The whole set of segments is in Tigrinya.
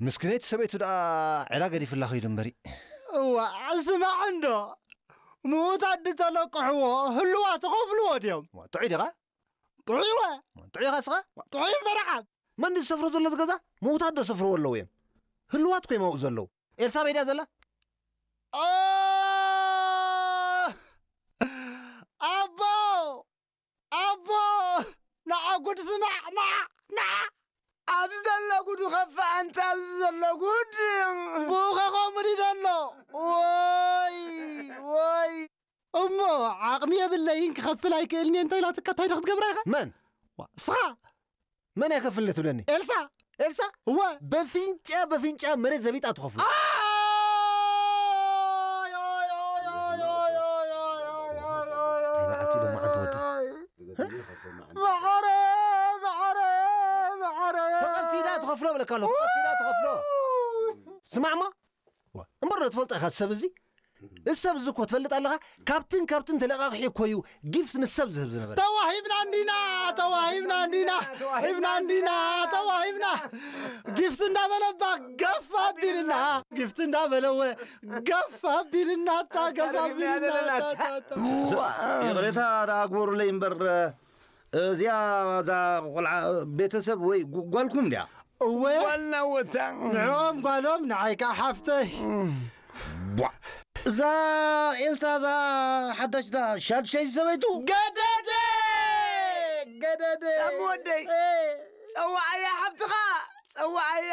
ምስክነይቲ ሰበይቱ ደኣ ዕዳ ገዲፍላ ኸይዱ እምበሪ። እዋ፣ ስማዕ እንዶ፣ ምዉታት ድተለቅሕዎ ህልዋ ትኸፍልዎ ድዮም? ጥዑይ ዲኻ? ጥዑይ ወ? ጥዑይ ኢኻ ስኻ? ጥዑይ እምበረኻ። መን ዝሰፍሮ ዘሎ ዝገዛ? ምዉታት ዶ ሰፍርዎ ኣለዉ እዮም? ህልዋት ኮ ይማውኡ ዘለዉ። ኤልሳቤጥ እያ ዘላ? ኦ! ኣቦ! ኣቦ! ንዓ ጉድ ስማዕ! ንዓ! ንዓ! ኣብዚ ዘሎ ጉድ ይኸፍእ፣ ኣንታ ኣብዚ ዘሎ ጉድ! ብኡ ኸ ከምኡ ድዩ ዘሎ? ወይ! ወይ! እሞ ዓቕሚ የብለይን ክኸፍል ኣይክእልን እየ እንተ ኢላትካ እንታይ ዶ ክትገብራ ኢኻ? መን? ዋ፣ ንስኻ! መን እያ ከፍል ትብለኒ? ኤልሳ! ኤልሳ? እወ! በፊንጫ በፊንጫ መሬት ዘቢጣ ትኸፍሎ። ኣይ! ኣይ! እንታይ መዓልቲ ኢሎም መዓልቲ ወዲ? መዓረ! መዓረ! መዓረ! ተቐፊዳ ትኸፍሎ ብለካ ኣለኹ። ተቐፊዳ ትኸፍሎ። ስማዕማ? ዋ፣ እምበር ዶ ትፈልጦ ኢኻ ሰብ እዚ? እዚ ሰብ እዚ እኮ ትፈልጥ ኣለኻ? ካብትን ካብትን ተለቃቂሑ እኮ እዩ ጊፍት ንሰብ ዝህብ ዝነበረ። ተዋሂብና እንዲና፣ ተዋሂብና እንዲና፣ ሂብና እንዲና፣ ተዋሂብና። ጊፍት እንዳበለ እባ ገፍ ኣቢልና፣ ጊፍት እንዳበለ እወ ገፍ ኣቢልና፣ እታ ገፍ ኣቢልና፣ እታ፣ እታ፣ እታ። ይቕሬታ ደኣ ግበሩለይ እምበር፣ እዚኣ እዛ ቆልዓ ቤተሰብ ወይ ጓ-፣ ጓልኩም ድያ? እወ። ጓልና ወታ። ንዕኦም ጓሎም፣ ንዓይ ከኣ ሓፍተይ። ቧ። እዛ ኤልሳ፣ እዛ ሓዳሽ፣ እዛ ሻድሻይቲ ሰበይቱ? ገደደ! ገደደ! ሳሚ ወደይ፣ እ። ጸዋዓያ ሓብትኻ! ጸዋዓያ!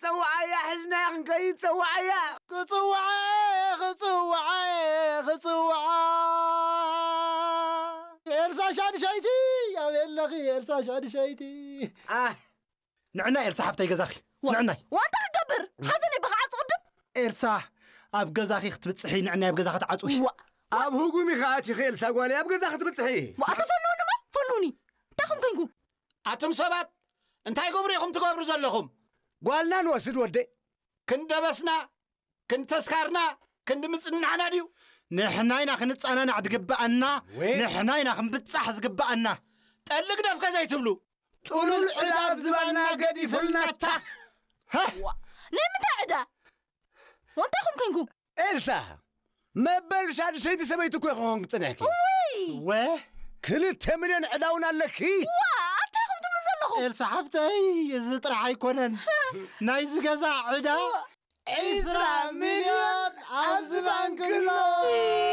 ጸዋዓያ! ሒዝናያ ክንከይድ ጸዋዓያ! ክጽውዓ! ክጽውዓ! ክጽውዓ! ኤልሳ ሻድሻይቲ! ኣበይ ኣለኺ ኤልሳ ሻድሻይቲ? ኣህ! ንዕና ኤልሳ ሓፍተይ ገዛኺ። ዋ-፣ ንዕናይ። ዋንታ ክገብር? ሓዘነይ ብኽዓጹ ቅድም። ኤልሳ፣ ኣብ ገዛኺ ክትብጽሒ፣ ንዕናይ ኣብ ገዛ ክትዓጽዊ። ዋ-፣ ኣብ ህጉም ኢኻ ኣቲኺ ኤልሳ ጓለይ፣ ኣብ ገዛ ክትብጽሒ። ዋ-፣ ኣታ ፈንውኒ እሞ፣ ፈንውኒ። እንታይ ኹም ኮንኩም? ኣቱም ሰባት፣ እንታይ ግብሪ ኢኹም ትገብሩ ዘለኹም? ጓልና ንወስድ ወደይ። ክንደበስና፣ ክንተስካርና፣ ክንዲ ምጽንናዕና ድዩ? ንሕና ኢና ክንጸናናዕ ዝግብኣና፣ ወይ። ንሕና ኢና ክንብጻሕ ዝግብኣና። ጠሊ ግደፍ ከ ዘይትብሉ። ጥሉል ዕዳ ኣብ ዝባንና ገዲፍልናታ። ሃህ! ዋ፣ ናይ ምንታይ ዕዳ? ወንታኹም ኮንኩም? ኤልሳ፣ መበል ሻድሸይቲ ሰበይቲ እኮ ክኾን ክጽንሕኪ። ውይ! ወ? ክልተ ሚልዮን ዕዳ እውን ኣለኪ። ዋ፣ ኣንታይ ኢኹም ትብሉ ዘለኹም? ኤልሳ ሓፍተይ፣ እዚ ጥራሕ ኣይኮነን። ናይዚ ገዛ ዕዳ ዋ። ዒስራ ሚልዮን ኣብዚ ባንክ ኣሎ።